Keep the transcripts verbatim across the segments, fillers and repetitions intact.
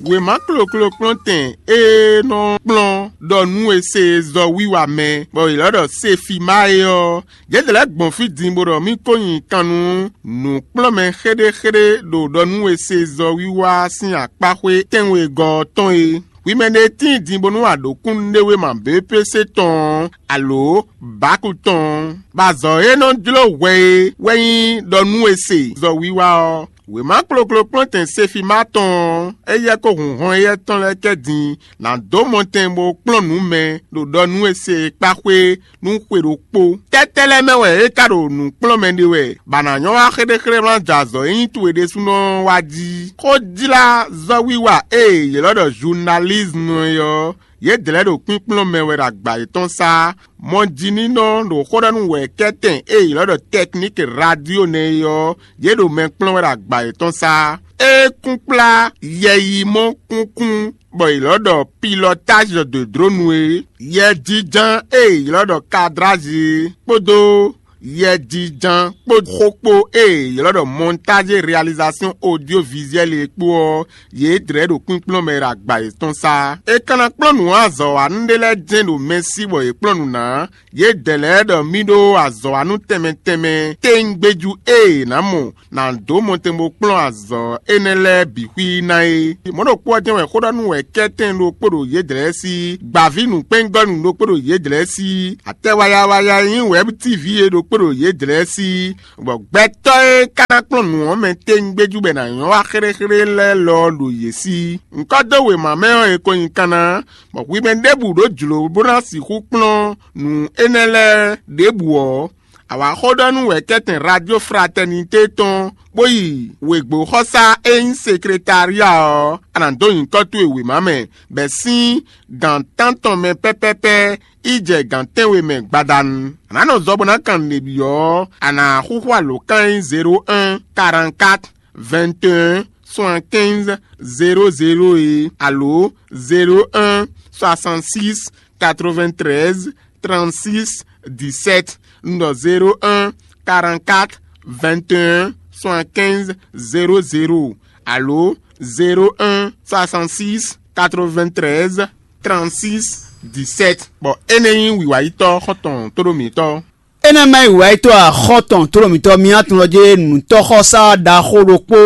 Wěma kloklo kplɔ́ntɛn e nɔ kplɔ́n ɖɔ nú è se zɔ wiwa mɛ, bɔ è lɔ̌ ɖɔ Sefima é ɔ́, yě lɛ́ gbɔn fí din bó ɖɔ mì ko nyi kan nú nǔkplɔ́nmɛ xéɖéxéɖé ɖo ɖɔ nú è se zɔ wiwa sín akpáxwé tɛ́nwegɔ́ ɔ́ tɔn é. Hwi mɛ ɖé tíin din bónú a ɖǒ kúnnuɖewéma B P C tɔn ɔ́, alǒ bǎku tɔn ɔ́, bɔ azɔ̌ e nɔ jló hwɛ é wɛ nyí ɖɔ nú è se zɔ wiwa ɔ́. Wěma kloklo kplɔ́ntɛn Sefima tɔn ɔ́, éyɛ́ kó hun hɔn éyɛ́ tɔn lɛ́ɛ kɛ din ná dó mɔtɛn bó kplɔ́n nǔ mɛ ɖo ɖɔ nú è se e kpá xwé nú xwe ɖokpó. Tɛ́tɛ́ lɛ́ɛ mɛ wɛ é ka ɖo nǔ kplɔ́n mɛ ɖe wɛ, bɔ a nǎ nyɔ́ wá xéɖéxéɖé ma jɛ azɔ̌ e nyí towe ɖésúnɔ ɔ́ wá jí. Xójlázɔ́wiwa e yě lɔ́ ɖɔ zunalízmu é ɔ́, yědɛɛ lɛ́ɛ ɖo kpínkplɔ́n mɛ wɛ ɖo agba yětɔn sá. Mɔjínínɔ ɖo xó ɖɔ nú wɛ̌kɛ́tɛn e è ylɔ́ ɖɔ tɛkníki radio nɛ́ é ɔ́, yě ɖo mɛ kplɔ́n wɛ ɖo agba yětɔn sá. É kún kplá yɛyimɔ kúnkún bɔ è ylɔ́ ɖɔ pilɔtázi de dronu é, yɛjínján e è ylɔ́ ɖɔ kadrázi é, kpódó yɛjínján kpó xókpó e è ylɔ́ ɖɔ mɔntázi realizasɔn odyovizuɛli é kpó ɔ́, yě dlɛ̌ ɖo kpínkplɔ́n mɛ ɖo agba yětɔn sá. È ka ná kplɔ́n nǔ azɔ̌wanú ɖé lɛ́ɛ jɛ́n ɖo mɛ sí bɔ yě kplɔ́n nǔ ná. Yědɛɛ lɛ́ɛ ɖɔ mì ɖó azɔ̌wanú tɛnmɛ tɛnmɛ téwúngbéjú e è nǎ mɔ ná dó mɔtɛn bó kplɔ́n azɔ̌ énɛ́ lɛ́ɛ bǐ xwí ná é. Mɔ̌ ɖokpó ɔ́ jɛ́n wɛ xó ɖɔ nú wɛ̌kɛ́tɛn ɖokpó ɖo yědɛɛ sí, gbǎví nǔkpɛ́ngɔ́nú ɖokpó ɖo yědɛɛ sí, atɛ wayawaya e nyí wɛ̌btíví é ɖokpó ɖo yědɛɛ sí, bɔ gbɛtɔ́ e ka ná kplɔ́n nǔ ɔ́ mɛ téwúngbéjú bɔ è nǎ nyɔ́ wá xéɖéxéɖé lɛ́ɛ lɔ ɔ́ ɖo yě sí. Ŋkɔ́ dó wěma mɛ ɔ́, è ko nyi kanna, bɔ hwi mɛ ɖěbǔ ɖó jlǒ bó ná sixú kplɔ́n nǔ énɛ́ lɛ́ɛ ɖěbǔ ɔ́, a wǎ xó ɖɔ nú wɛ̌kɛ́tɛn Radio Fraternité tɔn, bó yi wěgbóxɔsá e nyí sekretária ɔ́, a nǎ dó nyǐkɔ towe wěma mɛ, bɛ́ sín gǎn tántɔn mɛ pɛ́pɛ́pɛ́ yi jɛ gǎn tɛ́nwe mɛ gbadanu. A nǎ nɔ zɔ bó ná kan nǔɖé byɔ́ ɔ́, a nǎ xúxú alǒkan e nyí zéro un, quarante-quatre, vingt et un, soixante-quinze, zéro zéro é, alo zéro un, soixante-six, quatre-vingt-treize, trente-six, dix-sept, un ɖɔ zéro un, quarante-quatre, vingt et un, soixante-quinze, zéro zéro, alo zéro un, soixante-six, quatre-vingt-treize, trente-six, dix-sept. Bɔ énɛ́ nyí wǐwáyítɔ́ xɔ́ntɔn tóɖó mǐtɔn. Énɛ́ ma nyí wǐwáyítɔ́ axɔ́tɔn tlólɔmǐtɔn mì atɔn ɔ́ jɛ nǔtɔ́xɔsá ɖaxó ɖokpó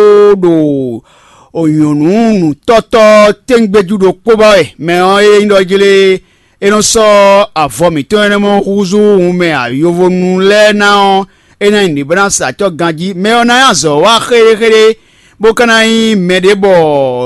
ɖo nyɔ̌nu nǔtɔ́tɔ́ téŋgbéjú ɖokpó ba wɛ. Mɛ ɔ́ e nyí ɖɔ jlé é nɔ sɔ́ avɔ mǐtɔn énɛ́ mɔ húzú wun mɛ ayovonu lɛ́ɛ ná ɔ́, é ná nyí nǔɖé bó ná sa acɔ́ ganjí. Mɛ ɔ́ ná nyí azɔ̌ wa xéɖéxéɖé, bó ka ná nyí mɛɖé bɔ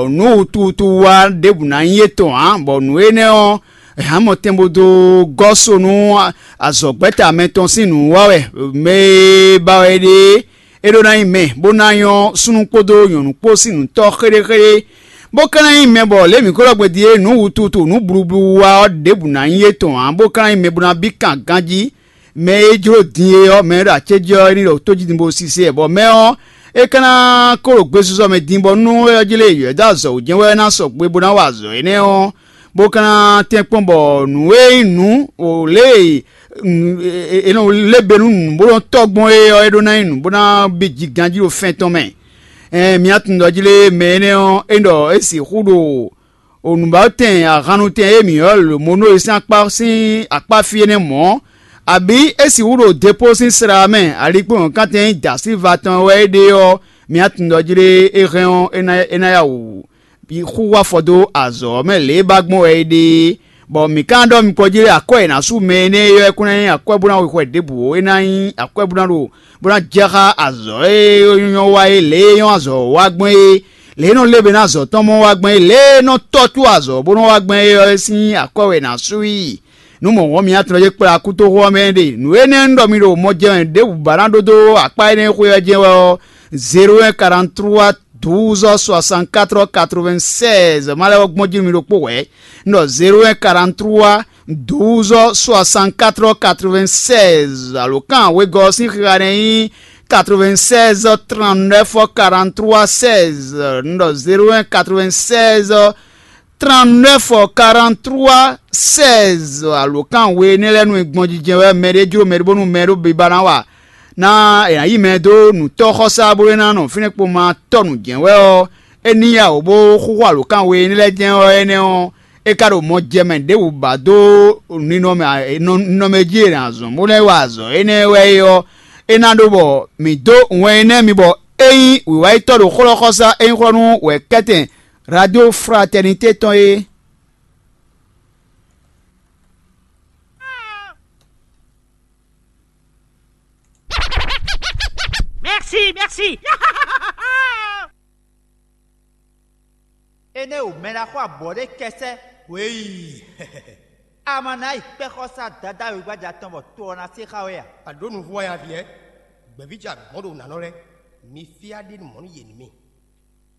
nǔ wutuwutu wa ɖěbǔ ná nyí étɔn ǎ, bɔ nǔ énɛ́ ɔ́, hǎn mɔtɛn bó dó gɔ́ so nú azɔ̌gbɛ́ta mɛtɔn sín nǔ wa wɛ. Mɛ e ba wɛ é ɖe é, é ɖó ná nyí mɛ, bó ná nyɔ́ súnnu kpódó nyɔ̌nu kpó sín nǔtɔ́ xéɖéxéɖé, bó ka ná nyí mɛ bɔ lě mǐ ko ɖɔ gbɛn din é, nǔ wututu nǔ blublu wa ɔ́ ɖěbǔ ná nyí étɔn ǎ, bó ka ná nyí mɛ bó ná bí kan ganjí. Mɛ e jló din é ɔ́, mɛ e ɖo acéjí ɔ́, é ní ɖo tójídin bó sise ɛ, bɔ mɛ ɔ́, é ka ná kó ɖo gbesisɔ mɛ din, bɔ nú é ɔ́ jlé yɔ̌ dó azɔ̌ wú jɛ́n wɛ é ná sɔgbe bó ná wa azɔ̌ énɛ́ ɔ́, bó ka ná tɛ́nkpɔ́n bɔ nǔ e nyí nǔ o lě e è nɔ lé be nú nǔ bó nɔ tɔ́ gbɔn é ɔ́, é ɖó ná nyí nǔ bó ná bí jí ganjí ɖo fɛn tɔn mɛ. Ɛɛ, mi tunwun ɖɔ jí lé mɛ énɛ́ ɔ́, é ɖɔ é sixú ɖo o nǔbátɛn ahannutɛn e mǐ ylɔ́ lǒ mɔ nú é sín akpá sín akpá fí énɛ́ mɔ̌, abǐ é sixú ɖo depó sín sla mɛ, alikpɔ́nɔ́kántɛn e nyí Dasilva tɔn wɛ é ɖe ɔ́, mi tunwun ɖɔ jí lé é hɛn ɔ́, é ná é ná ya wǔ xú wá afɔ dó azɔ̌ ɔ́ mɛ lě e ba gbɔn wɛ é ɖe é. Bɔ mǐ ka ɖɔ mi kpɔ́ jí lé akwɛ́ e è nǎ sú mɛ énɛ́ é ɔ́, é kún ná nyí akwɛ́ bó ná xwixwɛ ɖěbǔ ó, é ná nyí akwɛ́ bó ná ɖo bó ná jɛ xá azɔ̌ e nyɔ́ wa é, lě e nyɔ́ azɔ̌ wa gbɔn é, lě e nɔ lé be ná azɔ̌ tɔn mɔ wa gbɔn é, lě e nɔ tɔ́ tó azɔ̌ bó nɔ wa gbɔn é ɔ́, é sín akwɛ́ wɛ è nǎ sú i. Nú mɔ̌ wɔn mi atɔn e kplá kútoxo ɔ́ mɛ ɖe nǔ énɛ́ un ɖɔ mi ɖo mɔ jɛ wɛ ɖěbǔ ba ná ɖó dó akpá énɛ́ xwé ɔ́ jɛ́n wɛ ɔ́, zéro un quarante-trois douze soixante-quatre quatre-vingt-seize ma lɛ́ gbɔn jí nú mi ɖokpó hwɛ̌. Un ɖɔ zéro un quarante-trois douze soixante-quatre quatre-vingt-seize, alǒkan wegɔ́ ɔ́ sín xixa nɛ́ nyí quatre-vingt-seize trente-neuf quarante-trois seize. Un ɖɔ zéro un quatre-vingt-seize trente-neuf quarante-trois seize, alǒkan we énɛ́ lɛ́ɛ nú è gbɔn jijɛ wɛ mɛ ɖé jló mɛ ɖé bónú mɛ ɖó biba ná wa ná è nǎ yí mɛ dó nǔtɔ́xɔsá bó é ná nɔ fínɛ́ kpo ma tɔ́ nǔ jɛ́n wɛ ɔ́, é ní ya wǒ bó xúxú alǒkan we énɛ́ lɛ́ɛ jɛ́n ɔ́, énɛ́ ɔ́, é ka ɖo mɔ jɛ mɛ ɖěbǔ ba dó ninɔmɛ ninɔmɛ jí e è nǎ zɔn bó ná yi wa azɔ̌ énɛ́ wɛ é ɔ́, é ná ɖó bɔ mǐ dó wɛn énɛ́ mi bɔ é nyí wǐwáyítɔ́ ɖo xlɔ́xɔ́sá e nyí xlɔ́ nú wɛ̌kɛ́tɛn Radio Fraternité tɔn é. Merci, merci. Énɛ́ o mɛ ná xɔ abɔ̌ ɖé kɛsɛ́ hweyii. Ama ná yi kpɛ́ xɔsá Dadá wegbaja tɔn bɔ to ɔ́ ná se xá we a? A ɖǒ nǔvú wá ya vǐ ɛ. Gbɛ̌ví jɛ agbɔ̌n ɖo nǎ nɔ lɛ́ɛ. Mi fí á ɖe nú mɔ̌ nú yě nú mì.